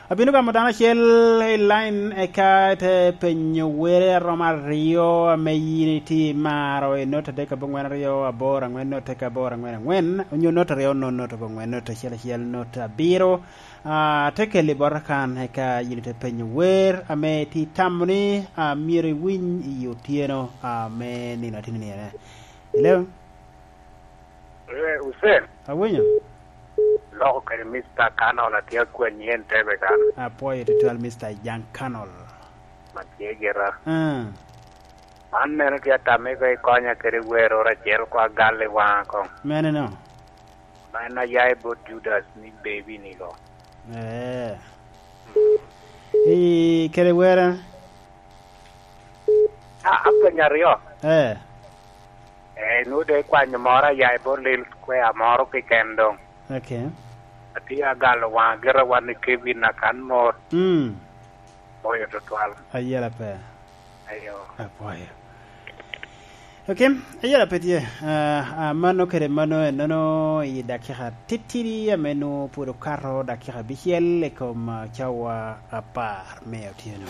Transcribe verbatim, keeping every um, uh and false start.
Abino gamo dano acel i line, eka te penyo were aromo aryo ame yin itye imaro i nota adek abongwen aryo aboro angwen nota eka aboro angwen angwen, onyo nota aryo nono nota abongwen nota acel acel nota abiro. Ah, te keli bota kan, eka yin ite penyo wer ame itye itamo ni, ah, myero iwiny i otyeno, ah, me nino atini nino. Hello? Eh, Hussein. Awinyo. Loko kede Mister Canol, atye akwanyi en tebe kan. Apwoyo tutwal, Mister Jan Canol. Ma tye gira. Ah. Man meno tye atamo iko ikonya kede wer oro acel kwa gal i wanga kong. Mene no? Ma en aya i bot Judas ni baby ni ko. Eh. I kede were? Ah, apenyo aryo. Eh. Eh, nu de kwanyo moro aya i bot Lil Square moro keken dong. Okay. Atye agalo wanga gira wan i Kevin akan mor. Mm. Boyo tutwal. Ayela pe. Ayo. Apwoyo. Okay, ayela pe tye. Ah, ah, mano kede mano enono i dakika titidi ame nu pwod okato dakika abicel i kom, ah, cawa apar me otyeno.